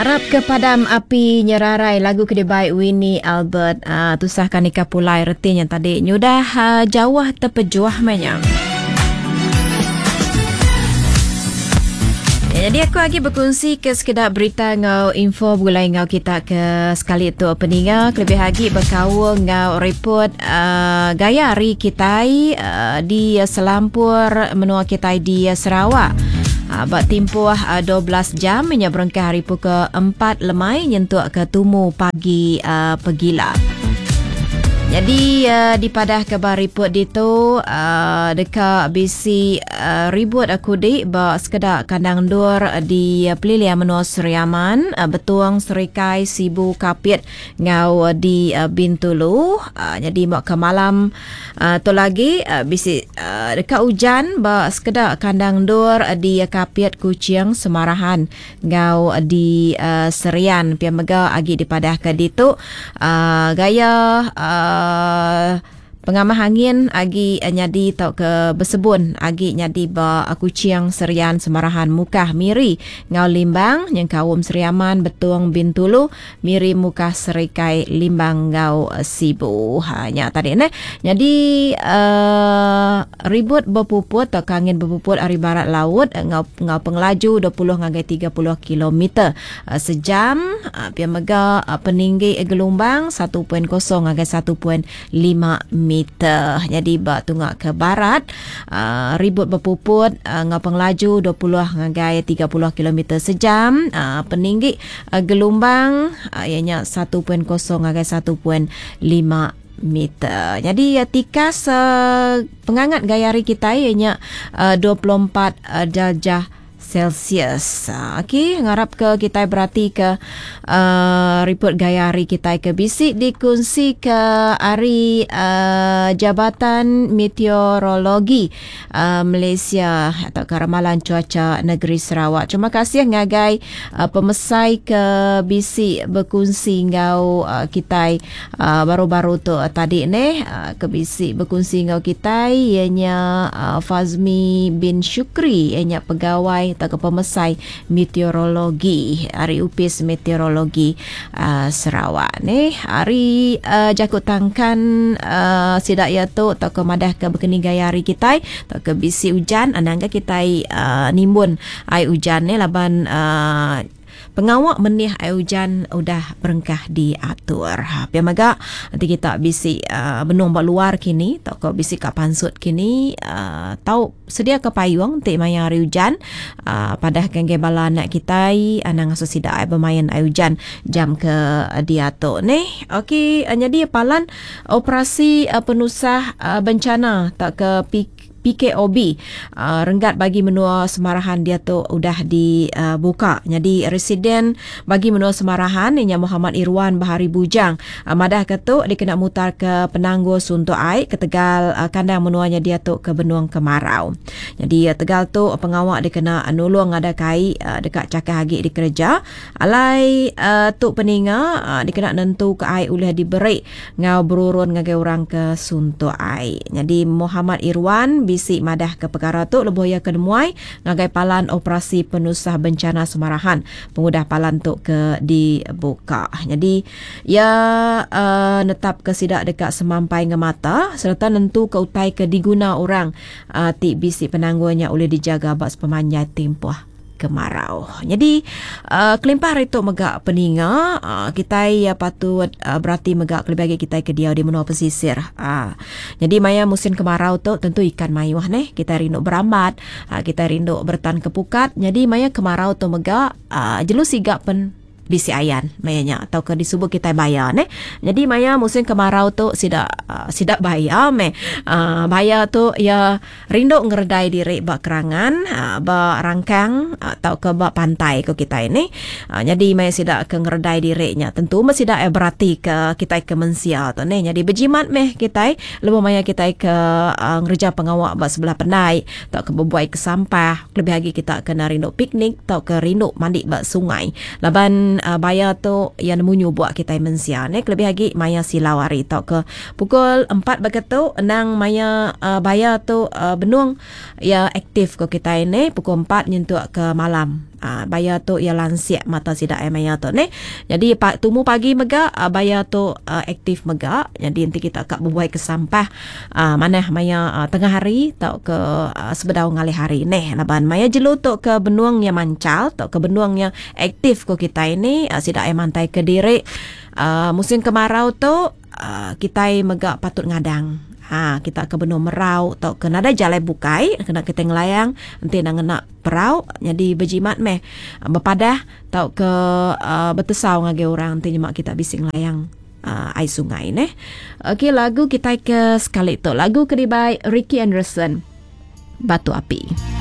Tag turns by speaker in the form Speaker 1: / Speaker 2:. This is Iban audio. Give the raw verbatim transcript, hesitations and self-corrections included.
Speaker 1: Arap ke padam api nyerarai lagu ke dibai Winnie Albert. Uh, tusah kan nikah pulai retinya tadi. Nyudah uh, jauh terpejuh mainnya. Ya, jadi aku lagi berkongsi ke sekedar berita ngau info begulai ngau kita ke sekali tu peninga kelebih lagi berkaul ngau report uh, gaya hari kita uh, di selampur menua kita di Sarawak. Uh, bak timpuh uh, dua belas jam nya berengkah hari pukul empat lemai nyentuk ke tumu pagi uh, pegila. Jadi uh, dipadah ke bar report ditu uh, dekat bisi uh, ribut aku di ba sekedak kandang endur di uh, Pelilia Menua Sri Aman, uh, Betuang, Serikai, Sibu, Kapit ngau uh, di uh, Bintulu. Uh, jadi mak ke malam uh, tu lagi uh, bisi uh, dekat hujan ba sekedak kandang endur di uh, Kapit, Kuching, Semarahan ngau uh, di uh, Serian. Pia mega agi dipadah ke ditu uh, gaya uh, Uh, pengamah angin agi uh, nyadi tau ke bersebun agi nyadi ba uh, Kuching, Serian, Semarahan, Mukah, Miri ngau Limbang yang kaum Sri Aman, Betung, Bintulu, Miri, Mukah, Serikai, Limbang ngau uh, Sibu. Ha nya tadi ne. Jadi uh, ribut berpuput atau angin berpuput ari barat laut ngau ngau pengelaju dua puluh ngagai tiga puluh kilometer uh, sejam. Uh, pia mega uh, peninggi gelombang satu titik kosong ngagai satu titik lima meter. Jadi ba tungak ke barat uh, ribut berpuput uh, ngau pengelaju dua puluh ngagai tiga puluh kilometer sejam. Uh, peninggi uh, gelombang uh, ianya satu titik kosong ngagai satu titik lima meter. Jadi uh, tikas uh, pengangat gaya hari kita ianya uh, dua puluh empat uh, darjah Celsius. Okey, ngarap ke kita berarti ke uh, report gaya hari kita ke bisik dikongsi ke hari uh, Jabatan Meteorologi uh, Malaysia atau ke Ramalan Cuaca Negeri Sarawak. Terima kasih ngagai uh, pemesai ke bisik berkongsi ngau uh, kita uh, baru-baru tu uh, tadi ni uh, ke bisik berkongsi ngau kita ianya uh, Fazmi bin Syukri ianya pegawai atau ke pemesai meteorologi hari upis meteorologi uh, Sarawak ni hari uh, jakut tangkan uh, sidak ya tu atau ke madah ke berkeni gaya hari kita atau ke bisi hujan anangga kita uh, nimbun air hujan ni laban uh, pengawak menih air hujan udah berengkah diatur. Ha, pia maga nanti kita bisi uh, benung bak luar kini atau ke bisi kat pansut kini uh, tau sedia ke payung ti maya hari hujan uh, padah gengge bala anak kita anang ngasu sida ai bermain air hujan jam ke diatur ni. Okey, uh, jadi palan operasi uh, penusah uh, bencana tak ke P P K O B uh, renggat bagi menua Semarahan dia tu udah dibuka. Uh, Jadi residen bagi menua Semarahan inya Muhammad Irwan Bahari Bujang uh, madah ke tu dikena mutar ke penangguh suntuk air ke Tegal uh, kandang menuanya dia tu ke Benung Kemarau. Jadi uh, Tegal tu pengawak dikena nulung ada kai uh, dekat cakah agi dikerja. Alai uh, tu peninga uh, dikena nentu ke air ulih diberi ngau berurun ngagai orang ke suntuk air. Jadi Muhammad Irwan bisik madah ke perkara tu lebuh ya ke nemuai ngagai palan operasi penusah bencana Semarahan pengudah palan tu ke dibuka. Jadi ya uh, netap ke sidak dekat semampai ngemata serta nentu ke utai ke diguna orang uh, ti bisik penangguhnya oleh dijaga bak sepemanjai tempoh kemarau. Jadi uh, kelimpah hari tu megak peninga uh, kita ya patut uh, berarti megak kelebih lagi kita ke dia di menua pesisir. Uh, jadi maya musim kemarau tu tentu ikan mayuh neh kita rindu berambat, uh, kita rindu bertan kepukat. Jadi maya kemarau tu megak uh, jelu sigak pen bisi ayan mayanya atau ke disebut kita bayar ne. Jadi maya musim kemarau tu sidak uh, sidak bayar me. Uh, bayar tu ya rindu ngeredai diri bak kerangan, uh, bak rangkang atau ke bak pantai ko kita ini. Uh, jadi maya sidak ke ngeredai dirinya tentu mesti dak berarti ke kita ke mensia tu ne. Jadi berjimat meh kita lebuh maya kita ke uh, ngereja pengawak bak sebelah pendai atau ke berbuai ke sampah. Lebih lagi kita kena rindu piknik atau ke rindu mandi bak sungai. Laban uh, bayar tu yang nemu buat kita mensia ne. Lebih lagi maya silau hari tau ke pukul empat begitu nang maya uh, bayar tu uh, benung ya aktif ke kita ini pukul empat nyentuk ke malam. Uh, baya tu ia lansik mata sida ai maya tu neh. Jadi pa, tumu pagi mega uh, baya tu uh, aktif mega. Jadi enti kita ka bebuai ke sampah uh, manah maya uh, tengah hari tau ke uh, sebedau ngalih hari neh. Laban maya jelu tu ke benung nya mancal tau ke benung nya aktif ko kita ini uh, sida ai mantai ke diri. Uh, musim kemarau tu uh, kita mega patut ngadang. Ha, kita ke benung merau atau ke nadai jalai bukai kena kita ngelayang enti nak ngena perau jadi berjimat meh berpadah atau ke uh, betesau ngagai orang enti nyemak kita bisi ngelayang uh, ai sungai neh. Okey, lagu kita ke sekali tu lagu ke dibai Ricky Anderson, Batu Api.